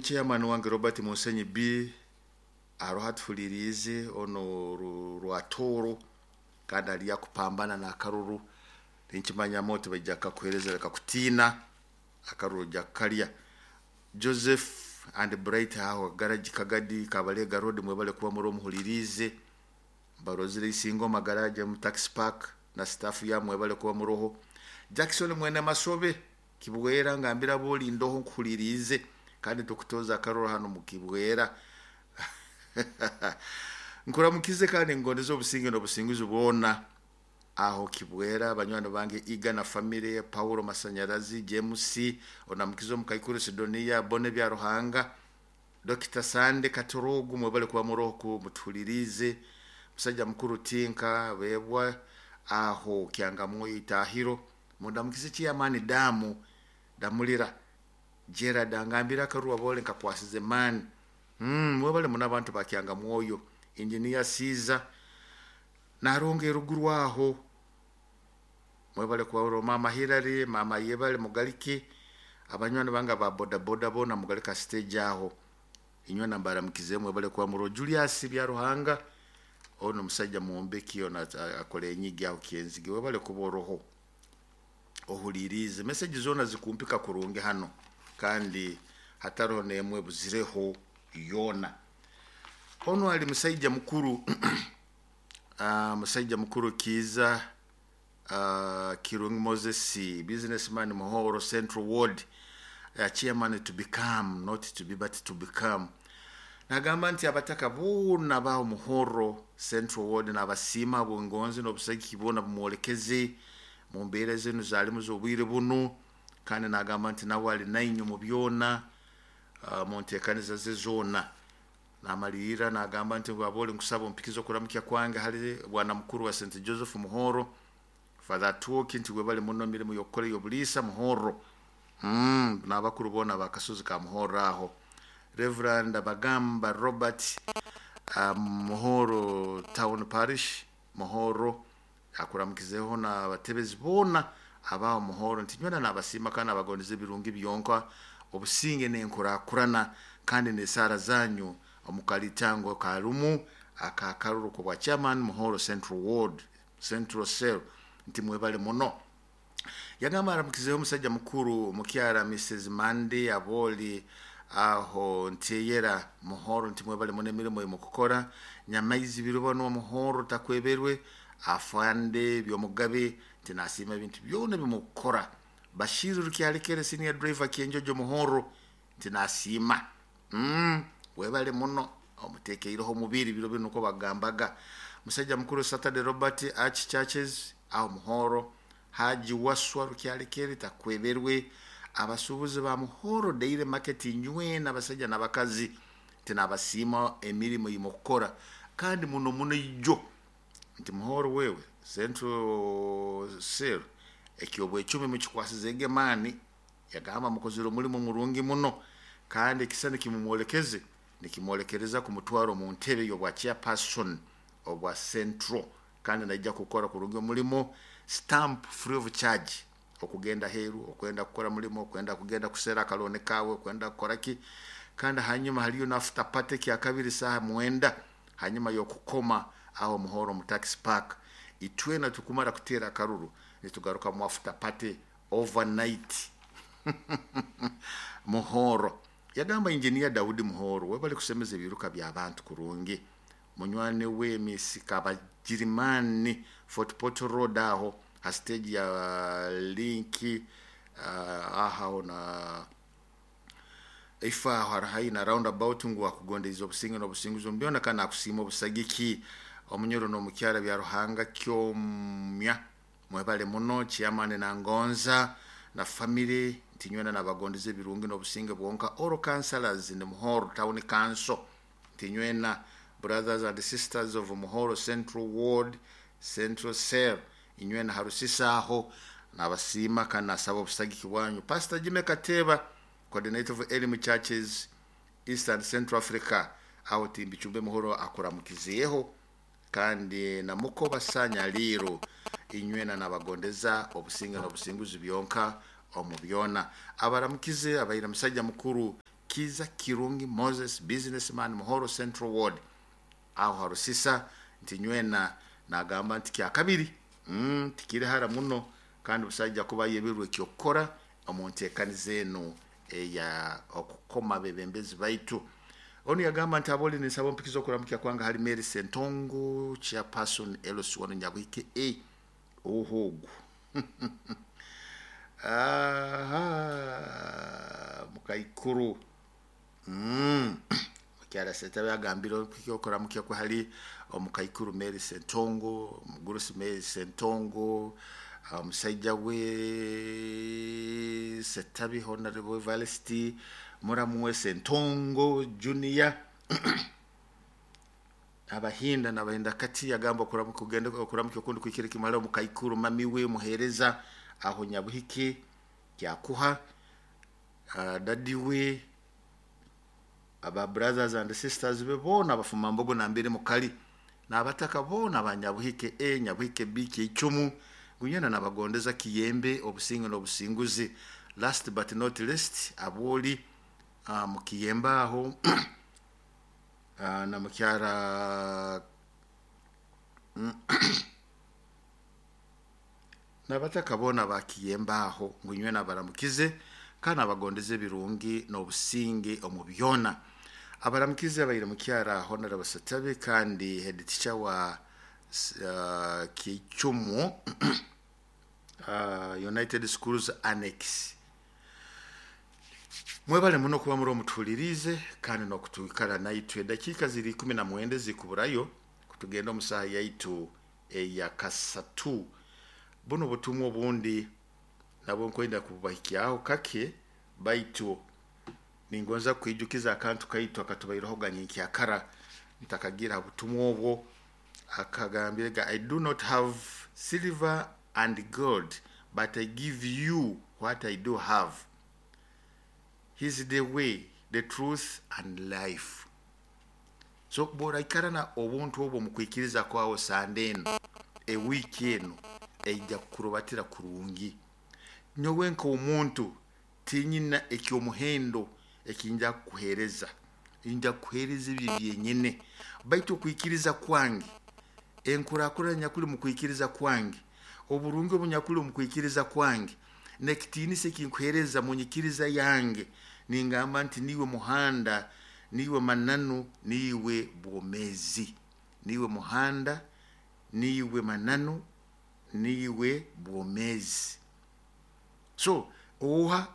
Chairman wange Robert Musenyi B aroho atuhuliriize ono Rwatooro kandi ali akupambana n'akaruru. Ninkimanya oti baija kukakuheereza leka kutiina, akaruru ojja kukalya. Joseph and Bright aho garage Kagadi Kabalega Road mwebale kuba muri omuhuliriize. Mbarozire Isingoma garage mu taxi park na staff ya mwebale kuba muroho. Jackson mwene Masobe Kibwera ngambira boli ndoho nkuhuliriize kandi tukutoza akaruru hano mu Kibwera. Nkuramukize kandi ngondeze obusinge n'obusinguzi bwona aho Kibwera. Banywani bange Iga na family, Paulo Masanyarazi, James onamukize omukaikuru Sidonia Bone bya Ruhanga, Dr. Sande Katorogu mwebale kuba muroho mutuhuliriize. Musajja mukuru Tinka Bebwa aho Kyangamwoyo Itahiro mundamukize Chairman Damu Damulira Gerard angambira akaruru abole nkakwasize man. Mwebale muno abantu ba Kyangamwoyo. Engineer Caesar naronga eruguru aho mwebale kuba mama Hillary, mama Yebale Mugalike, abanywani banga ba boda boda bona Mugalika stage aho inywe nambara mukize mwebale kuba muro. Julius bya Ruhanga ono musajja muombeki ono akora enyigi aho Kyenzige webale kuba oroho ohuliriize message zona zikumpika kurungi hano kandi hataroho nemwe buzireho yona. Ono ali musajja mukuru musajja mukuru Kiza Kirungi Moses, businessman Muhoro Central Ward, chairman to become, not to be but to become. Nagamba nti abataka boona baho Muhoro Central Ward nabasiima bwongonzi n'obusagiki boona bumwolekeze mu mbeera zinu zalimu z'obwire bunu, kandi nagamba nti nawe ali nainyu mu byona, mu nteekaniza ze zoona. Namalirira nagamba nti abole nkusaba ompikize okuramukya kwange hali bwana mukuru wa St. Joseph Muhoro, Father Tuoki, nti webale muno emirimu y'okukora ey'obuliisa Muhoro. N'abakuru boona bakasozi ka Muhoro aho. Reverend Bagamba Robert, Muhoro Town Parish Muhoro akuramukizeho n'abatebezi boona abaho Muhoro nti nywena nabasiima kandi nabagondeza ebirungi byonka, obusinge n'enkurakurana kandi n'esaara zanyu omukalitango karumu akakaruru kubwa chairman Muhoro Central Ward Central Cell nti mwebale muno. Yagamba aramukizeho omusajja mukuru mukyara Mrs. Mandi aboli aho nteyera Muhoro nti mwebale muno emirimu emukukora. Nyamaizi biruba Muhoro takweberwe afande byomugabe nti nasiima ebintu byona bimukukora. Bashiru Rukyalekere senior driver Kyenjojo Muhoro nti nasiima. Webale muno omutekeireho omubiri biro bino uko bagambaga. Musajja mukuru Saturday Robert Arch Churches aho Muhoro. Haji Waswa Rukyalekere takweberwe. Abasuubuzi ba Muhoro Daily Market nywena abasajja n'abakazi nti nabasiima emirimu yimukukora kandi muno muno ijo nti Muhoro wewe Central Cell ekyobwecumi mukikwasize egemani. Yagamba mukozire omulimu murungi muno kandi ekisa nikimumwolekeze nikimwolekereza kumutwara mu ntebe y'obwa chairperson obwa Central kandi naija kukora kurungi omulimo stamp free of charge, okugenda heru, okwenda kukora mulimo, okwenda kugenda kusera akalone kawe, okwenda kukora ki. Kandi hanyuma haliyo na after party kya kabiri saha 9 hanyuma yokukoma aho Muhoro mu taxi park. Itwena tukumara kutera akaruru nitugaruka mu after party overnight. Muhoro yagamba engineer Daudi Muhoro webale kusemeza ebiruka by'abantu kurungi. Munywani we Miss Kabajirimani Fort Portal Road aho ha stage ya linki aho na ifa aho harahayi na roundabout ngu akugondeza obusinge n'obusinguzi mbyona kandi akusiima obusagiki omunyoro n'omukyara bya Ruhanga kyomya mwebale muno chairman na Ngonza na family nti nywena nabagondeza ebirungi n'obusinge bwonka. All councillors in Muhoro Town Council nti nywena brothers and sisters of Muhoro Central Ward Central Cell inywena harusisa aho nabasiima kandi nasaba obusagiki bwanyu. Pastor Jimmy Kateba, coordinator of Elim Churches East and Central Africa aho Timbichumbe Muhoro akuramukizeho kandi na muko basanya liro inywena nabagondeza obusinge n'obusinguzi byonka omu byona. Abaramukize abaira musajja mukuru Kiza Kirungi Moses, businessman, Muhoro Central Ward, aho harusisa. Nti nywena nagamba nti kyakabiri tikiri hara muno, kandi busajja kuba yebirwe ekyokukora omu nteekaniza enu eya okukoma abebembezi baitu. Onu yagamba nti aboli, ninsaba ompikiza okuramukya kwanga hali Mary Sentongo, chairperson LC1 Nyabuhike A ohogu. Aha mukaikuru mukyara Setabe agambire okuramukya kwe hali omukaikuru Mary Sentongo, omugurusi Mary Sentongo, omusaija we Setabi Honorable Evarist, muramu we Sentongo Junior, abahinda nabahinda. Kati yagamba kugenda okuramukya okundi kwikire kimala omukaikuru mami we muhereza aho Nyabuhike kyakuha, dadi we, aba brothers and sisters be boona abafuma mbogo nambere mukali, n'abataka boona aba Nyabuhike A, Nyabuhike B, Keicumu, gunyana nabagondeza kiyembe, obusinge n'obusinguzi. Last but not least, aboli mukiyembe aho na mukyara n'abataka boona bakiyembe aho, ngu inywe nabaramukize kandi nabagondeza ebirungi n'obusinge omu byona. Abaramukize abaire mukyara Honorable Setabe kandi head teacher wa Kicumu United Schools Annex. Mwebale muno kuba muri omutuhulirize kandi n'okutwikara naitwe. Dakiika ziri 19 zikuburayo kutugenda omu saaha yaitu eya kasatu. Buno butumwa obundi nabwo nkwenda kubahikyaho kake, baitu ningonza kwijukiza akantu kaitu akatubaireho ganyenkyakara ntakagira ha butumwa obwo. Akagambire ga, "I do not have silver and gold, but I give you what I do have. He's the way, the truth and life." So bw'oraikarana obuntu obwo mukwikiriza kwawe, sande eno, ewiiki eno eija kukurubatira kurungi. Nyowe nk'omuntu tinyina ekyomuhendo ekinja kukuheereza, nja kukuheereza ebyo byenyine, baitu okwikiriza kwange, enkurakurana nyakuli mu kwikiriza kwange, oburungi obunyakuli omu kwikiriza kwange, n'ekitiinisa ekinkuheereza mu nyikiriza yange, ningamba nti niiwe muhanda, niiwe mananu, niiwe bwomeezi. Niiwe muhanda, niiwe mananu, niiwe bwomeezi. So oha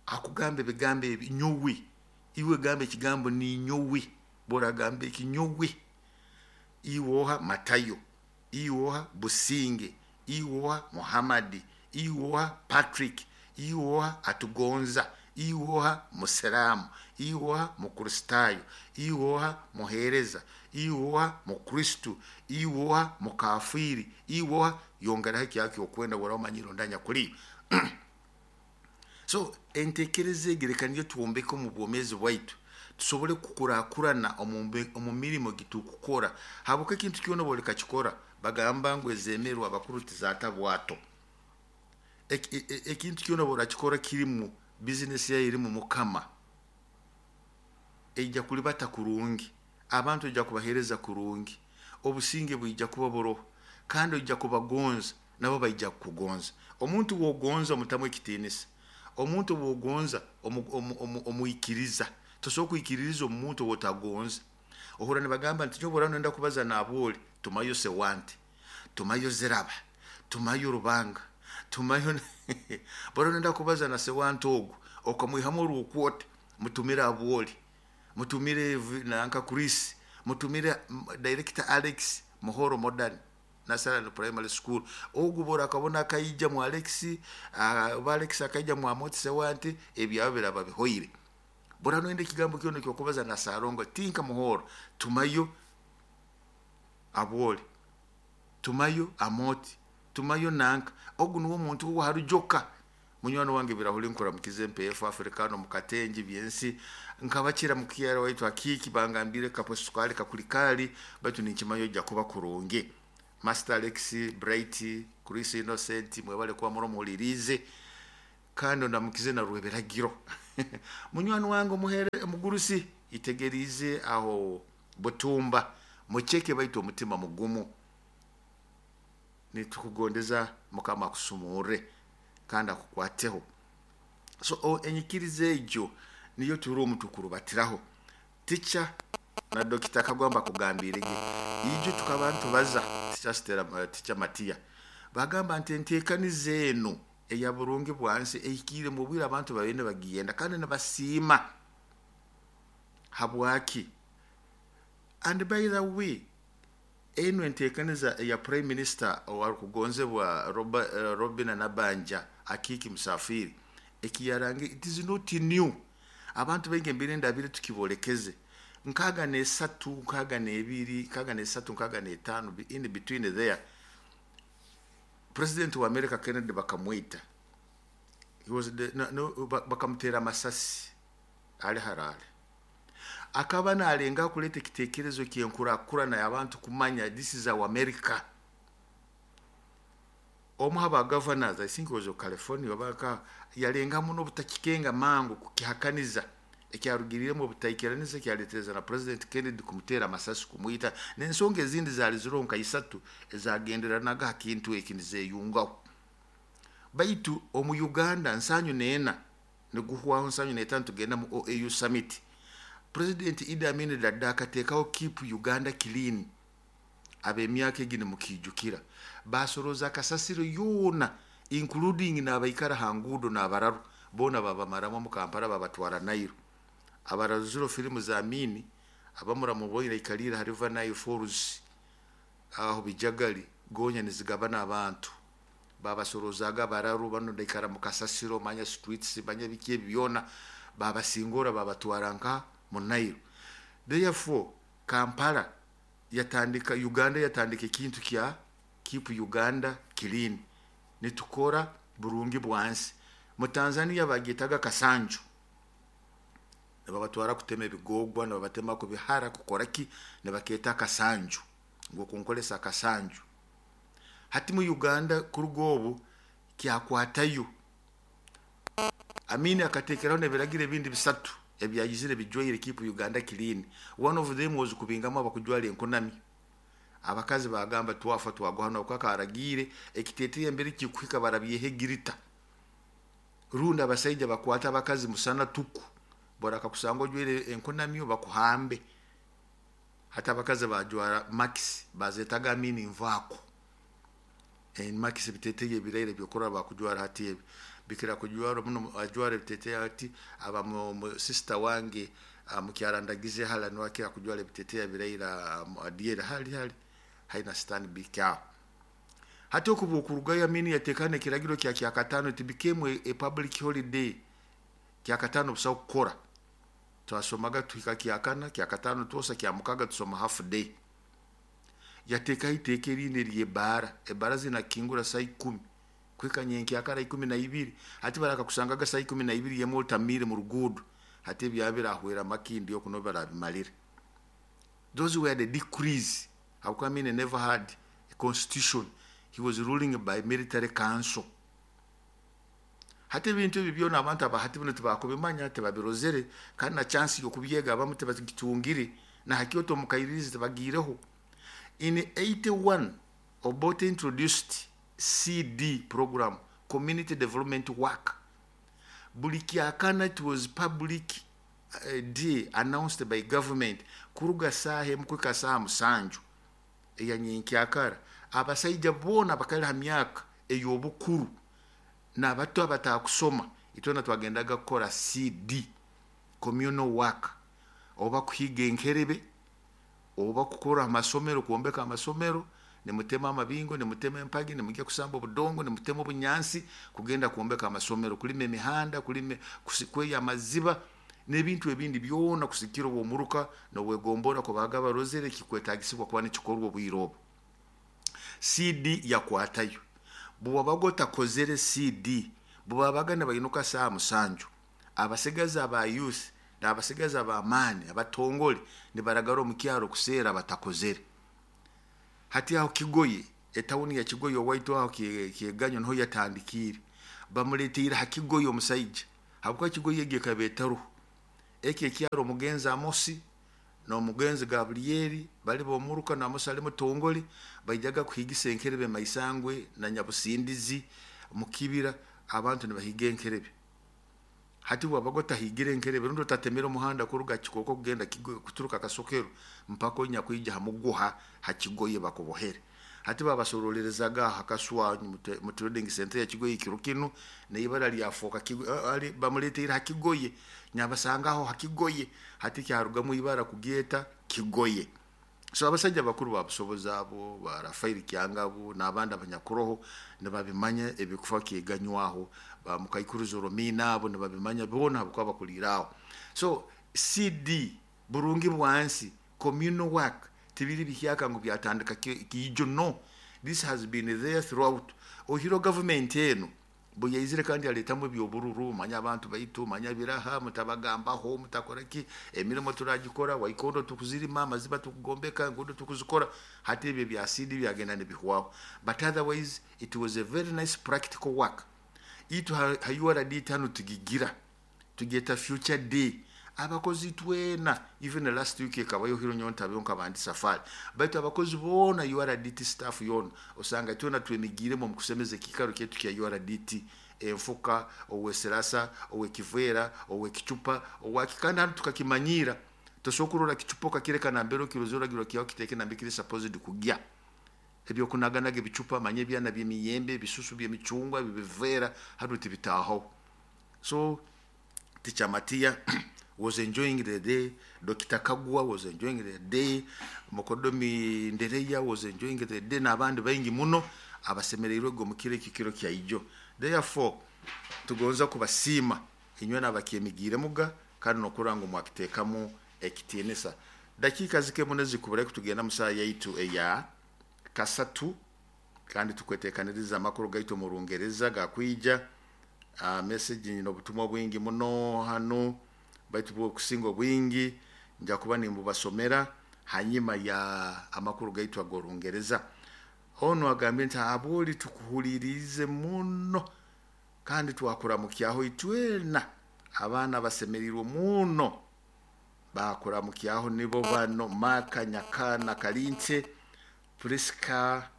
akugamba ebigambo ebi? Nyowe, iwe gamba ekigambo ninyowe. Bworagamba eki, nyowe, iwe oha Matayo, iwe oha Businge, iwe oha Muhammadi, iwe oha Patrick, iwe oha Atugonza, iwe oha Musiramu, iwe oha Mukristaayo, iwe oha muheereza, iwe oha Mukristu, iwe oha mukafiiri, iwe oha yongeraho ekyakyo okwenda bwora omanyire ondanya kuli. So entekereza egi reka niyo twombeke omu bwomeezi bwaitu, tusobole kukurakurana omu mirimo gitukukora, habwokuba ekintu kyona oba olikakikora, bagamba ngu ezemerwa abakuru tizaata bwato. Ekintu kyona oba orakikora kirimu bizinesi yayo erimu mukama, eija kulibata kurungi, abantu oija kubaheereza kurungi, obusinge bwija kuba buroho, kandi oija kubagonza, nabo baija kukugonza. Omuntu wogonza omutamu ekitiinisa, omuntu wogonza omwikiriza. Tosobola kwikiririza omuntu owotagonza. Ohura nibagamba nti nyowe bwora nenda kubaza nabooli, tumayo Sewante, tumayo Ziraba, tumayo Rubanga, tumayo. Bwora nenda kubaza na Sewante ogu okamwihamu orwokwota, mutumire Abwoli, mutumire nanka Chris, mutumire director Alex Muhoro Modern Nasaran Primary School. Ogu bora akabona akaija mu Alex, oba Alex akaija mu Amoti Sewante, ebyabo biraba bihoire. Bora noyenda ekigambo kyona ekyokubaza na Sarongo tinka Muhoro, tumayo Abwoli, tumayo Amoti, tumayo nanka. Ogu niwo omuntu ogu harujoka. Munywani wange Birahuli, nkuramukize. Mpeefu Afrikano mukatengi byensi nkabakira mukyara waitu akiki bangambire kapo sukali kakulikali, baitu ninkimanyo ojja kuba kurungi. Master Alex, Bright, Chris, Innocent, mwebale kuba muri omuhulirize, kandi ondamukize na Rwebiragiro. Munywani wange omuhere omugurusi itegerize aho Butumba mucheke, baitu omutima mugumu. Nitukugondeza Mukama akusumurre kandi akukwateho. So enyikiriza egyo niyo turi omu tukurubatiraho. Tica na Dokita Kagwamba akugambirege ijo tukaba ntubaza tica Stella, tica Matiya bagamba nti enteekaniza eno eya burungi bwansi ehikiire mu bwire, abantu babaire nibagiyenda kandi nibasiima. Habwaki? And by the way, eno enteekaniza eya Prime Minister owarukugonzebwa Robina Nabanja Akiiki Musafiri ekiyarange, it is not new. Abantu baingi embere ndabire tukibolekeze 63, 62, 63, 65, in between there. President wa America Kennedy bakamwita. He was the, no, no, bakamutera amasasi ali Harare. Akaba nalenga kuleta ekitekerezo kyenkurakurana abantu kumanya this is our America. Omu haba governors, I think it was of California, baka yalenga muno obutakikenga mangu kukihakaniza, ekyarugiriremu obutaikiraniza ekyaletereza na President Kennedy kumutera amasasi kumwita, n'ensonga ezindi zaali ziroho nka isatu ezagenderanaga ha kintu eki nizeyungaho. Baitu omu Uganda 74 niguhwaho, 75 tugenda mu OAU summit. President Idi Amin Dada akateekaho Keep Uganda Clean. Ab'emyaka egi nimukijukira, basoroza akasasiro yoona including n'abaikara ha nguudo n'abararu boona, babamaramu mu Kampala, babatwara Nairo. Abararuziro filimu za Amini abamuramuboine aikalire ha River Nile Falls aho bijagali gonya nizigabana abantu, babasorozaga abararu bano ndaikara mu kasasiro, manya streets, manya biki ebi byona, babasingora babatwara nka mu Nairo. Therefore Kampala yatandika, Uganda yatandika ekintu kya Keep Uganda Clean, nitukora burungi bwansi. Mu Tanzania bagetaga kasanju, nibabatwara kutema ebigogwa, nibabatema kubihara, kukora ki, nibaketa akasanju ngu okunkolesa akasanju. Hati mu Uganda kuruga obu kyakwatayo. Amini akatekeraho n'ebiragiro ebindi bisatu ebyayizire bijwaire Keep Uganda Clean. One of them was kubingamu abakujwara enkunami. Abakazi bagamba twafa twagwa hano, kakaragiire ekiteteya embere kikuhika barabyehe egirita, rundi abasaija bakwata abakazi musana tuku, borakakusanga ojwaire enkunamyo bakuhambe. Hati abakazi bajwara maxi, bazetaga Amini nvaako. Maxi biteteya ebiraire byokurora bakujwara hati, ebi bikira kujwara muno, ajwara ebiteteya hati aba mu sister wange mukyarandagize hala niwakira kujwara ebiteteya biraire adiere hali hali haina Stanbic aho. Hati okuva okurugayo Amini yatekana ekiragiro kya Kyakatano. It became a public holiday. Kyakatano busaho kukora. Twasomaga tuhika Kyakana, Kyakatano twosa, Kyamukaga tusoma half day. Yatekaho iteeka erindi eryebara, ebara zinakingura saa 10 kuhika nyenkyakara 12. Hati barakakusangaga saa 12 yemwe otamire mu ruguudo. Hati ebyabire ahwera Makindi oku barabimalire. Those were the decrees. Habwokuba Amini never had a constitution, he was ruling by military council. Hati ebintu ebi byona abantu abahati bino tibakubimanya, tibabirozere, kandi na chance yokubyega abamu tibagitungire, na hakyoto omukairirizi tibagiireho. In 81 Obote introduced CD program, community development work. Buli Kyakana it was public day announced by government. Kuruga saaha 1 kuhika saaha 7 eyanyenkyakara, abasaija boona bakali ha myaka ey'obukuru n'abato abatakusoma, itwena twagendaga kukora CD, communal work, oba kuhiga enkerebe, oba kukora amasomero, kwombeka amasomero, nimutema amabingo, nimutema empagi, nimujya kusamba obudongo, nimutema obunyansi kugenda kwombeka amasomero, kulima emihanda, kulima, kweya amaziba n'ebintu ebindi byona, kusikira obwomuruka nobwegombora kubaga barozere kikwetagisibwa kuba nikikorwa obwire obu. CD yakwatayo. Bwewabaga otakozere CD, bwebabaga nibainuka saaha 7, abasigazi aba youth n'abasigazi ab'amaani abatongole nibaragara omu kyaro kuseera batakozere. Hati aho Kigoye, etawuni ya Kigoye owaitu aho Kyeganyo niho yatandikiire. Bamuleteire ha Kigoye omusaija. Habwokuba Kigoye egi ekaba etaruho. Eki ekyaro omugenzi Amosi n'omugenzi Gabulyeri bali b'omuruka, na Amosi ali mutongole, baijaga kuhigisa enkerebe Maisangwe na Nyabusindizi mu kibira, abantu nibahiga enkerebe. Hati bwabaga otahigire enkerebe rundi otatemere omuhanda kuruga Kikoko kugenda kuturuka Kasokero mpaka onyakwija ha muguha ha Kigoye bakubohere. Hati babasorolerezaga aha Kaswa mu trading center ya Kigoye kiro kinu, n'ibara lyafoka bamuleteire ha Kigoye, nyabasangaho ha Kigoye, hati kyarugamu ibara kugyeta Kigoye. So abasajja bakuru babusobozi abo, ba Rafaeli Kyangabo n'abandi abanyakuroho nibabimanya ebikufa kyeganywaho, ba Mukaikuru Zoromina abo nibabimanya boona habwokuba bakuliire aho. So CD burungi bwansi, communal work tibiri bihyaka ngu byatandika kiijo, no. This has been there throughout. Oihire gavumenti eno bwe yaizire kandi yaleetamu eby'obururu, manya abantu baitu, manya biraha, mutabagambaho, mutakora ki, emirimo turagikora, waikondo tukuzirima, amaziba tukugombeka, enguudo tukuzikora. Hati ebyo bya CD byagenda nibihwaho. But otherwise it was a very nice practical work. Itwe ha URD hanu tugigira, tugyeta Future Day. Abakozi twena, even last week ekabayo hiro nyowe ntabeho nkaba ndi safari, baitu abakozi boona URDT staff yoona osanga twena twemigiremu omu kusemeza ekiikaro kyaitu kya URDT, enfuka, ow'esirasa, ow'ekiveera, ow'ekicupa, owaki, kandi hanu tukakimanyiira. Tosobola kurora kicupa okakireka nambere okirozere, oragirwa kihaho kiteeke nambere kiri supposed kugya. Ebyokunaganaga ebicupa, manya ebyana by'emiyembe, ebisusu by'emicungwa, ebiveera, hanu tibitaahaho. So Teacher Matia was enjoying the day, Dr. Kagwa was enjoying the day, Mukodomi Ndereya was enjoying the day, n'abandi baingi muno abasemereirwege omu kiro eki kiro kya ijo. Therefore tugonza kubasiima inywe n'abakyemigiiremuga kandi n'okurora ngu mwakiteekamu ekitiinisa. Dakiika zike muno ezikubura kutugenda mu saaha yaitu eya kasatu, kandi tukweteekaniriza amakuru gaitu omu Rungereza gakwija. Message nyine obutumwa bwingi muno hanu, baitu bwokusinga obwingi nja kuba nimbubasomera hanyuma ya amakuru gaitu ag'Orungereza. Onu agambye nti abwoli tukuhuliriize muno kandi twakuramukyaho itwena, abaana basemereirwe muno bakuramukyaho, nibo bano Maka Nyakana Kalinche, Priska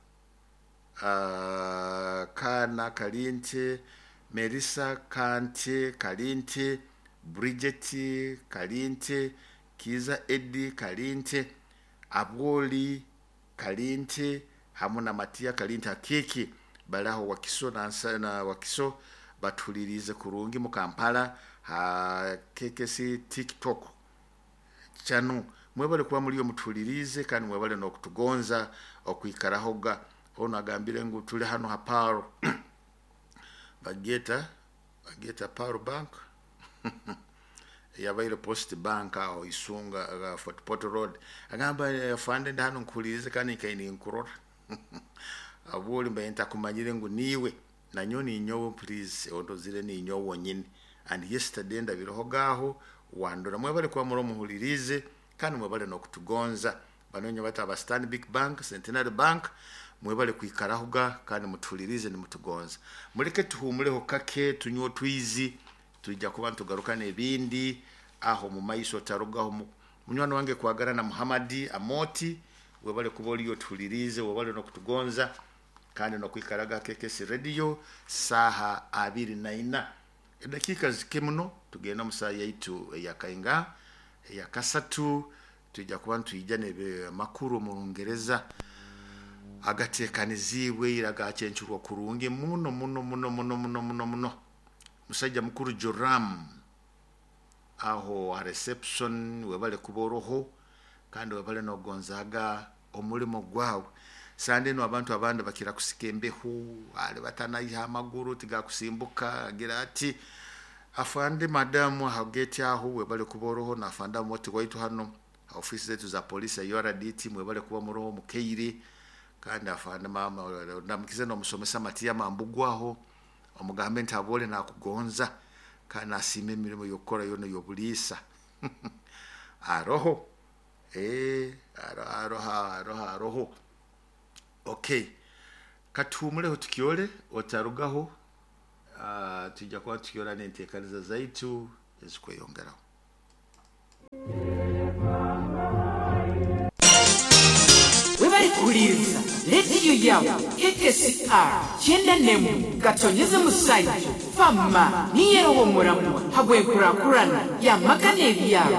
Kana Kalinche, Melissa Kante Kalinte, Bridget Kalinte, Kiza Eddie Kalinte, Abwoli Kalinte hamu na Matia Kalinte Akiki, bali aho Wakiso na Wakiso, batuliriize kurungi mu Kampala ha KKC TikTok channel. Mwebale kuba muliyo mutuliriize kandi mwebale n'okutugonza okwikarahoga. Ono agambire ngu tuli hano ha Paro bageta Paro Bank yabaire Post Bank aho Isunga, Fort Portal Road. Agamba afande ndi hano nkuhulirize kandi nkaine nkurora. Abwoli mbaye ntakumanyire ngu niiwe, nanyo ninyowe, please ondozire ninyowe wonyini, and yesterday ndabiroho gaho wandora. Mwebale kuba muri muhulirize kandi mwebale n'okutugonza. Banonye bata aba Stanbic Bank, Centenary Bank, mwebale kwikarahoga kandi mutuhulirize nimutugonza. Muleke tuhumuleho kake, tunywe otwizi, tujja kuba ntugaruka n'ebindi aho mu maiso. Otarugaho. Munywani wange kwagara na Muhamadi Amoti, webale kuba oliyo otuhulirize, webale n'okutugonza kandi n'okwikaraga KKC Radio. Saaha 24 edakiika zike muno tugenda mu saaha yaitu eyakainga eyakasatu, tujja kuba nitwija amakuru omu Rungereza agateekaniziibwe ira, gakyencurwa kurungi muno muno muno muno muno muno muno. Musajja mukuru Joram aho ha reception, webale kuba oroho kandi webale nogonzaga omulimo gwawe. Sande eno abantu abandi bakira kusika embeho, ali batanaiha amaguru tigakusimbuka, agira ati afande madamu aha gate aho, webale kuba oroho, na afande amoti waitu hano ha ofisi zetu za polisi ya URDT, mwebale kuba muroho mukeire. Kandi afande mama ndamukize n'omusomesa Matia Mambugu aho, omugambe nti abole nakugonza kandi nasiima emirimo y'okukora yona y'obuliisa aroho, aroho aroho aroho. Okay, katuhumuleho tukyole, otarugaho. Tujja kuba tukirora n'enteekaniza zaitu ezikweyongeraho. Webari kuhuliriza rediyo yawe KKCR 91 gatonyeze musaija fama niyerowo muramwa habwenkurakurana yamagana ebyabo.